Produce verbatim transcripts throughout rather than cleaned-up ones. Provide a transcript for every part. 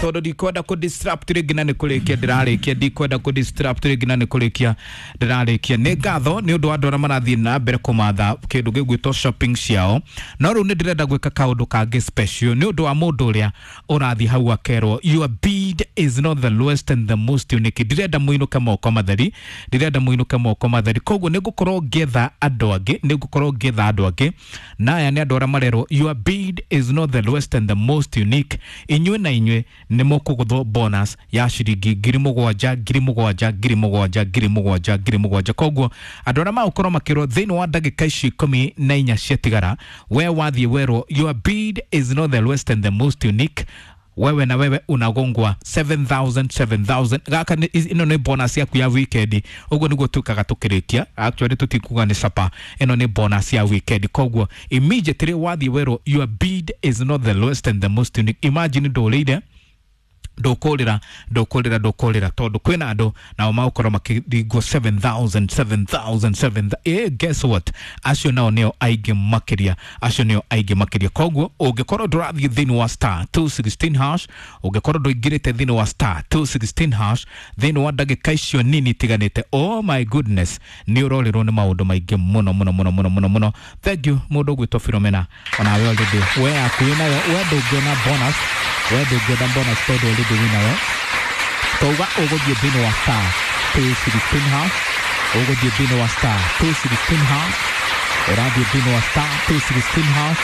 Tondu ndikwenda ku disrupt rĩngĩ na nĩ kũrĩkia ndĩrarĩkia, ndikwenda ku disrupt rĩngĩ na nĩ kũrĩkia ndĩrarĩkia. Nĩ ngatho nĩ ũndũ wa andũ arĩa marathiĩ na mbere kũmatha kĩndũ gĩgwĩtwo shopping ciao, no rĩu nĩ ndĩrenda gwĩka kaũndũ kangĩ special nĩ ũndũ wa mũndũ ũrĩa ũrathiĩ hau akerwo your bid is not the lowest and the most unique. Ndirenda mũinũke moko matheri, ndirenda mũinũke moko matheri, koguo nĩ ngũkorwo ngĩetha andũ angĩ, nĩ ngũkorwo ngĩetha andũ angĩ, na aya nĩ andũ arĩa marerwo your bid is not the lowest and the most unique. Inyuĩ na inyuĩ nĩ mũkũgũthwo bonus ya ciringi ngiri mũgwanja, ngiri mũgwanja, ngiri mũgwanja, ngiri mũgwanja, ngiri mũgwanja. Koguo andũ arĩa magũkorwo makĩrwo thĩinĩ wa ndagĩka ici ikũmi na inya ciatigara, we wathiĩ werwo your bid is not the lowest and the most unique, wewe na wewe unagongwa seven thousand seven thousand. Gaka nĩ- ĩno nĩ bonus yaku ya weekend. Ũguo nĩguo tukaga tũkĩrĩkia. Actually tũtikuga nĩ sapa, ĩno nĩ bonus ya weekend. Koguo immediately wathiĩ werwo your bid is not the lowest and the most unique, imagine ndũrĩire, ndũkũrĩra, ndũkũrĩra, ndũkũrĩra, tondũ kwĩna andũ nao magũkorwo makĩringwo seven thousand seven thousand seven. Eh, guess what, acio nao nĩo aingĩ makĩria, acio nĩo aingĩ makĩria. Koguo ũngĩkorwo ndũrathiĩ thĩinĩ wa star two sixteen hash, ũngĩkorwo ndũingĩrĩte thĩinĩ wa star two sixteen hash thĩinĩ wa ndagĩka icio nini itiganĩte, oh my goodness, nĩ ũrorĩrwo nĩ maũndũ maingĩ mũno mũno mũno mũno mũno mũno. Thank you, mũndũ ũgwĩtwo Philomena, onawe already we yaku wĩnayo, we ndũngĩona bonus, we ndũngĩona bonus tondũ already wĩnayo. Twauga ũgũthiĩ thĩinĩ wa star two sixteen hash, ũgũthiĩ thĩinĩ wa star two sixteen hash, ũrathiĩ thĩinĩ wa star two sixteen hash,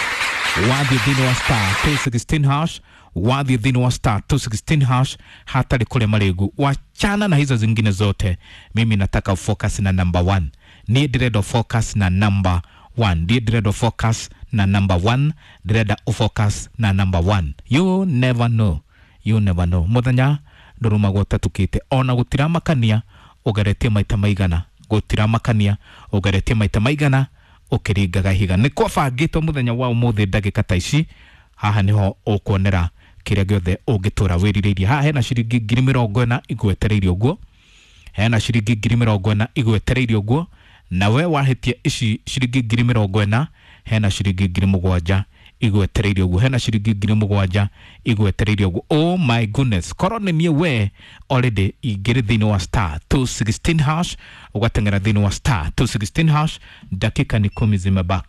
wathiĩ thĩinĩ wa star two sixteen hash, wathiĩ thĩinĩ wa star two sixteen hash hatarĩ kũrĩa marĩgu. Wachana na hizo zingine zote, mimi nataka focus na number one. Niĩ ndĩrenda focus na number one, ndiĩ ndĩrenda focus na number one, ndĩrenda focus na number one. You never know, you never know, mũthenya ndũrũmagwo ũtatukĩte. Ona gũtiramakania ũgeretie maita maigana, gũtiramakania ũgeretie maita maigana ũkĩringaga ihiga. Nĩ kwabangĩtwo mũthenya wa ũmũthĩ ndagĩka ta ici haha nĩho ũkuonera kĩrĩa gĩothe ũngĩtũra wĩrirĩirie. Haha hena ciringi ngiri mĩrongo ĩna igwetereirie ũguo, hena ciringi ngiri mĩrongo ĩna igwetereirie ũguo, na we wahĩtia ici ciringi ngiri mĩrongo ĩna, hena ciringi ngiri mũgwanja igwetereirie ũguo, hena ciringi ngiri mũgwanja igwetereirie ũguo. Oh my goodness, korwo nĩ niĩ we already ingĩrĩ thĩinĩ wa star two sixteen hash, ũgateng'era thĩinĩ wa star two sixteen hash. Dakika ni kumi zimebaki.